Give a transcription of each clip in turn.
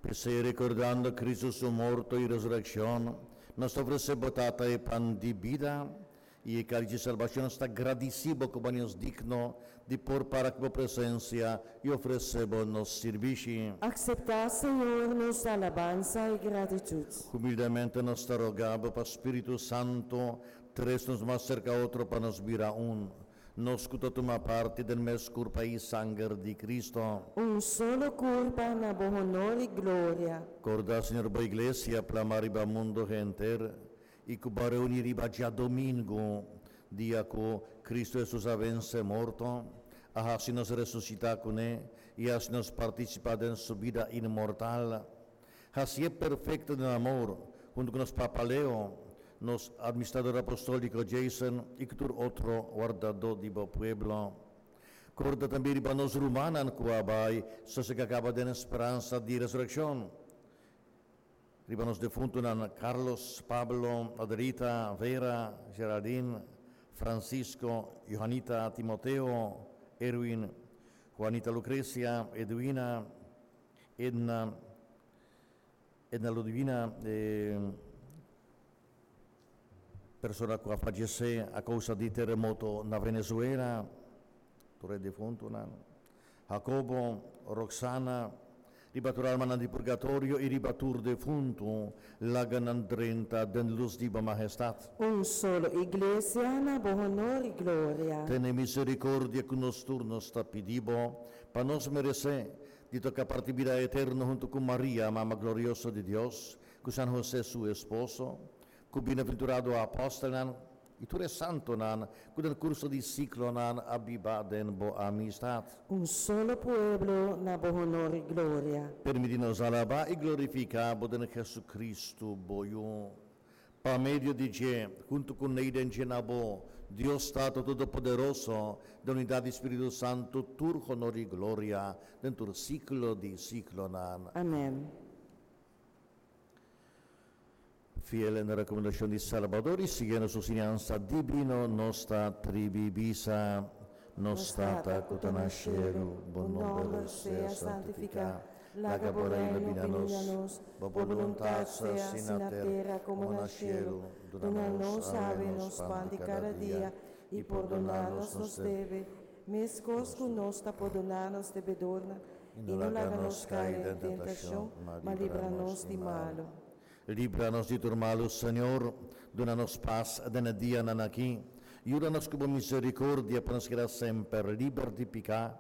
P'esei, rekordando Kristu su morto i resurekshon, nos ta ofresé bo, Tata, e pan di bida i e kalis di salbashon. Nos ta gradisí bo ku bo haña nos digno di por para ku bo presensia i ofresé bo nos sirbishi. Akseptá, Señor, nos alabansa i gratitut. Humildemente nos ta rogá bo pa Spiritu Santu trese nos mas serka otro pa nos bira un. Nos ku ta tuma parti den mes kurpa i sanger di Kristu. Un solo kurpa na bo honor i gloria. Korda, Señor, bo Iglesia plamá riba mundu henter i ku bo a reuní riba djadomingu, dia ku Kristu Hesus a vense morto, a hasi nos resusitá kuné i hasi nos partisipá den su bida inmortal. Hasié perfekto den amor, huntu ku nos Papa Leo, nos Administrador Apostóliko Jason i ku tur otro wardadó di bo pueblo. Korda tambe riba nos rumannan ku a bai sosegá kaba den speransa di resurekshon, riba nos defuntunan Carlos, Pablo, Adelita, Vera, Geraldine, Francisco, Johanita, Timoteo, Erwin, Juanita Lucrecia, Edwina, Edna, Edna Ludwina, e persona ku a fallecé a kousa di teremoto na Venezuela, tur e defuntunan, Jacobo, Roxana, riba tur almanan di purgatorio i riba tur defuntu, laga nan drenta den lus di bo Mahestat. Un solo Iglesia na bo honor i gloria. Tene misericordia ku nos tur, nos ta pidi bo, pa nos meresé di toka parti bida eterno huntu ku Maria, Mama glorioso di Dios, ku San Hosé su esposo, ku bienaventurado apòstelnan i tur e santunan ku den kurso di siklonan a biba den bo amistat. Un solo pueblo na bo honor i gloria. Permití nos alabá i glorifiká bo den Jesucristo, bo Yu. Pa medio di dje, huntu ku nei den dje na bo, Dios Tata Todopoderoso, den unidat di Spiritu Santu, tur honor i gloria den tur siklo di siklonan. Amen. Fiel na rekomendashon di Salbador i siguiendo su siñansa dibino, nos ta tribi bisa, Nos Tata ku ta na shelu, bo nomber sea santifiká. Laga bo reino bini na nos, bo boluntat sea hasi na tera komo na shelu. Duna nos awe nos pan di kada dia, i pordoná nos nos debe, meskos ku nos ta pordoná nos debedornan, i no laga nos kai den tentashon, ma libra nos di malu. Libra nos di tur malu, Señor, duna nos pas den e dianan aki. Yuda nos ku bo miserikordia pa nos keda semper liber di piká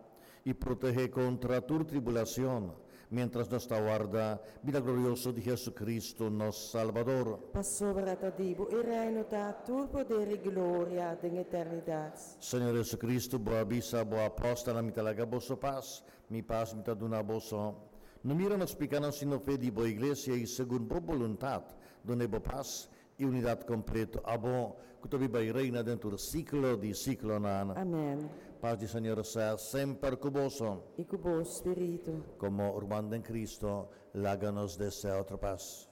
i protehé kontra tur tribulacion, miéntras nos ta warda bida glorioso di Jesucristo, nos Salbador. Pasobra ta di bo e reino ta, tur poder i gloria den eternidat. Señor Jesucristo, bo a bisa bo apòstelnan, Mi ta laga boso pas, mi pas mi ta duna boso. No mira nos pikánan sino fe di bo iglesia i segun bo boluntat dun'é bo pas i unidat kompleto, abo ku ta biba i reina den tur siklo di siklonan. Amèn. Pas di Señor sea semper ku boso. I ku bo spiritu. Komo ruman den Kristo, laga nos desea otro pas.